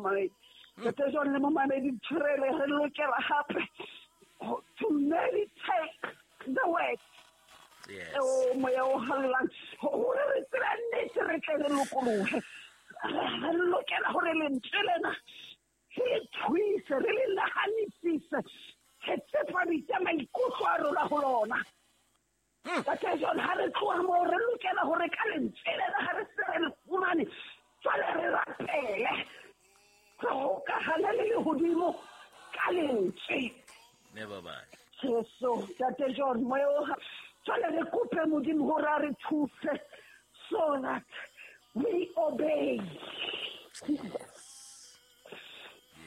momamedi. Ntate John le momamedi tshwarele, re lokela hape to meditate the word. Yes. O moya o halalelang, hore re tsebe nnete, re tle re lokolohe. Re lokela hore lentswe lena re le thuise, re le nahanisise, re tsepamise maikutlo a rona ho lona. Ntate John, ha re tloha moo, re lokela hore ka lentswe lena, ha re se re le fumane, jwale re rapele, re hokahane le lehodimo ka lentswe. Never mind. Jesu, Ntate John, moya o jwale re kope Modimo hore a re thuse so that we obey.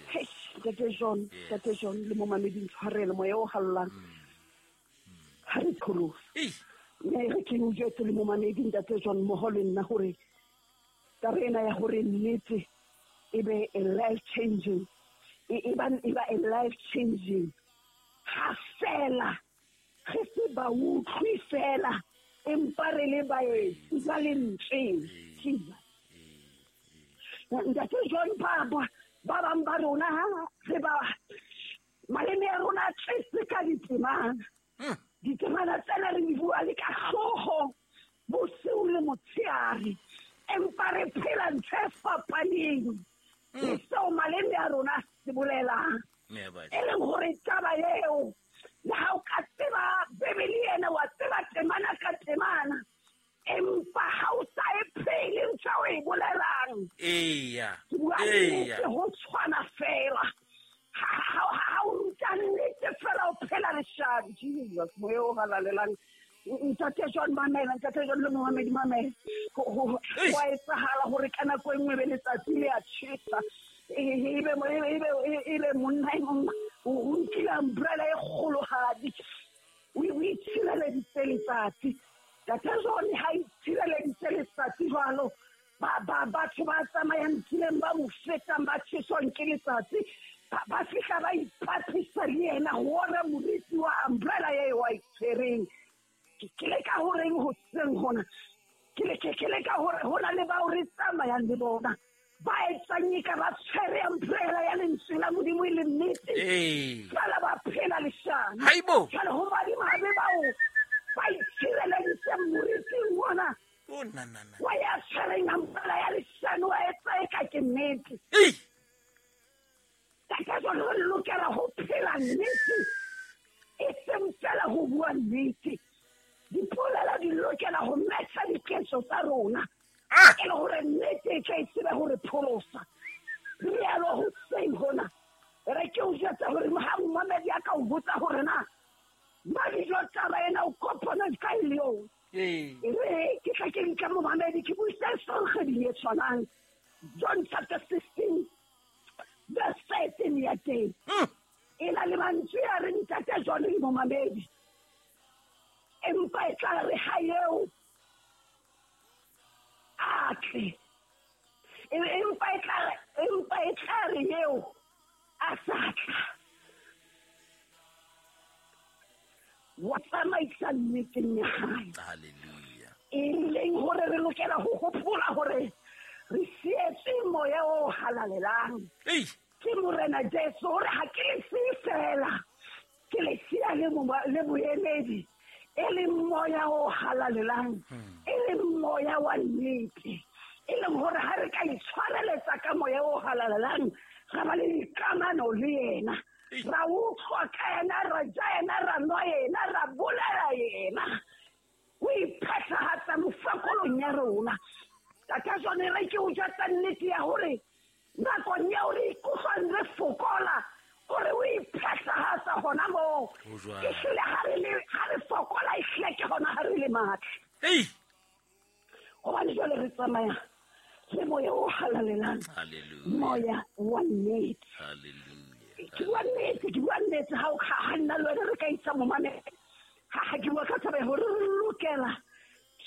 Hey, Ntate John, Ntate John le momamedi ntshwarele, moya o halalelang ha re pholose. Ei. Mme re ke o jwetse le momamedi, Ntate John, mmoho le nna, hore taba ena ya hore nnete e be a life changing, e ba a life changing ha fela re se ba utlwi fela, empa re le baetsi ba lentsweng. Jesus, Ntate John, ba bang ba rona ha re ba maleme a rona a tletse ka ditemana. Ditemana tsena re di bua le ka hlooho bosiu le motshehare, empa re phela ntho e fapaneng le seo maleme a rona a se bolelang. Never. E leng hore taba eo, le ha o ka tseba Bebele ena, wa tseba temana ka temana, empa ha o sa e phele ntho eo e bolelang, Eya. ke bua Eya. nnete, ho tshwana fela ha o ruta nnete fela, o phela leshano. Jesus, moya o halalelang. Ntate John, mamela. Ntate John le momamedi, mamela. Eish. Ho a etsahala hore ka nako e nngwe be letsatsi le a tjhesa, ebe monna e mong o nkile umbrella e kgolohadi, o itshireleditse letsatsi. Ntate John, ha itshireleditse letsatsi jwalo, batho ba tsamayang tseleng ba mo fetang, ba tjheswang ke letsatsi, ba fihla ba ipatlisa le yena hore moriti wa umbrella eo a itshwereng. Ke leka horeng hoseng hona, ke leka hore ho na le bao re tsamayang le bona ba etsang eka ba tshwere umbrella ya lentswe la Modimo e le nnete, Ee. jwale ba phela leshano. Haibo. Jwale ho madimabe bao ba itshireleditse moriting ona Oh na na na. wa ya tshwereng umbrella ya leshano, wa etsa eka ke nnete. Ei. Ka jwale re lokela ho phela nnete, e seng fela ho bua nnete. Dipolelo di lokela ho matcha diketso tsa rona, Ah. e le hore nnete e tla e tsebe hore pholosa. Rialo hoseng hona, re ke o jwetsa hore ha momamedi a ka o botsa hore na madijo taba ena o kopana kae le yona, Ee. e re ke tla ke nka momamedi ke buise kgweding e tshwanang, John chapter 16 verse 13 ya teng, e na le mantswe a re, Ntate John le momamedi, empa e tla re ha eo a tle, empa e tla re eo a sa tla wa tsamaisa nneteng ya hae. Hallelujah. E leng hore re lokela ho hopola hore re sietse moya o halalelang Ei. ke Morena Jesu, hore ha ke le siye fela, ke le siya le moemedi, e leng moya o halalelang, e leng moya wa nnete, e leng hore ha re ka itshwareletsa ka moya o halalelang, ra ba le dikamano le yena, ra utlwa ka yena, ra ja yena, ra nwa yena, ra bolela yena, o iphethahatsa mofakolong ya rona. Tata jone, re ke o jwetsa nnete ya hore nakong eo re ikutlwang re fokola, ore o iphethahatsa hona moo. Ho jwalo. Ehlile ha re fokola, ehlile ke hona ha re le matla, Ei. hobane jwale re tsamaya le moya o halalelang, Hallelujah. moya wa nnete. Hallelujah. Ke bua nnete, ke bua nnete. Ha o ha nna le wena re ka isa momamedi, ha ke bua ka taba ya hore re lokela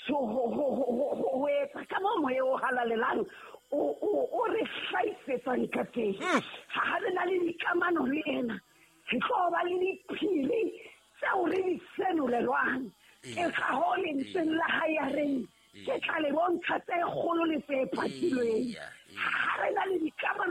ho etsa ka moo moya o halalelang o re hlahisetsang ka teng. Ha re na le dikamano le ena, re tlo ba le diphiri tseo re di senolelwang. Ke ka hoo lentsweng la hae ya reng, ke tla le bontsha tse kgolo le tse patilweng. Eya, Ha re na le dikamano